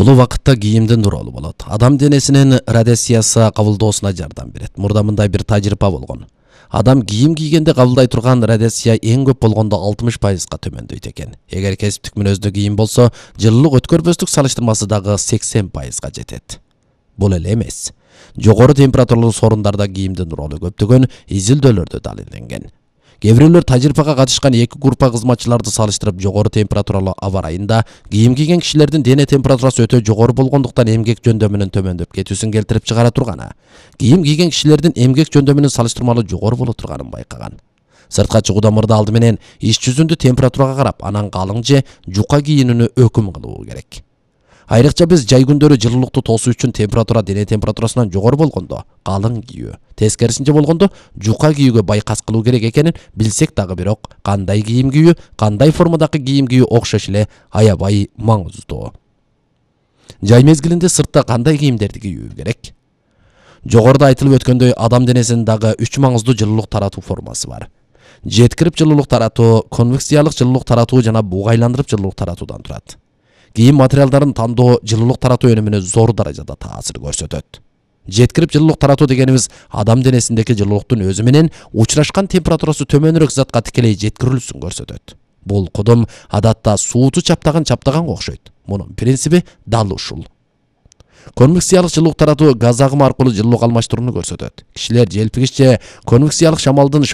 Бул убакытта кийимдин тууралуу болот. Адам денесинин радиациясы кабылдоосуна жардам берет. Мурда мындай бир тажрыйба болгон. Адам кийим кийгенде кабылдай турган радиация эң көп болгондо 60%га төмөндөйт экен. Эгер кесиптик мүнөздүү кийим болсо, жылуулук өткөрбөстүк салыштырмасы дагы 80%га жетет. Бул эле эмес. Жогору температуралуу сорундарда кийимдин тууралуу көптөгөн изилдөөлөрдө далилденген. Кээ бирөөлөр тажрыйбага катышкан эки группа кызматчыларды салыштырып, жогору температуралуу аба ырайында кийим кийген кишилердин дене температурасы өтө жогору болгондуктан эмгек жөндөмүнүн төмөндөп кетүүсүн келтирип чыгара турганы, кийим кийген кишилердин эмгек жөндөмүнүн салыштырмалуу жогору боло турганын байкаган. Сыртка чыгууда мурда алды менен ич жүзүндү температурага карап, анан калың же жука кийинүүнү өкүм кылуу керек. Айрыкча биз жай күндөрү жылуулукту тосуу үчүн температура дене температурасынан жогору болгондо калың кийүү, тескерисинче болгондо жука кийүүгө байкас кылуу керек экенин билсек дагы, бирок кандай кийим кийүү, кандай формадагы кийим кийүү окшош эле аябай маңыздуу. Жай мезгилинде сыртта кандай кийимдерди кийүү керек? Жогоруда айтылып өткөндөй, адам денесинин дагы 3 маңыздуу жылуулук таратуу формасы бар. Жеткирип жылуулук таратуу, конвекциялык жылуулук таратуу жана бугайландырып жылуулук таратуудан турат. Кийим материалдарын тандоо жылуулук таратуу өнүмүнө зор даражада таасир көрсөтөт. Жеткирип жылуулук таратуу дегенибиз адам денесиндеги жылуулуктун өзү менен учурашкан температурасы төмөнүрөөк затка тикелей жеткирилүүсүн көрсөтөт. Бул кудум адатта сууту чаптаганга окшойт. Мунун принциби дал ушул. Конвекциялык жылуулук таратуу газ агымы аркылуу жылуулук алмаштырууну көрсөтөт. Кишилер желпигич же конвекциялык шамалдын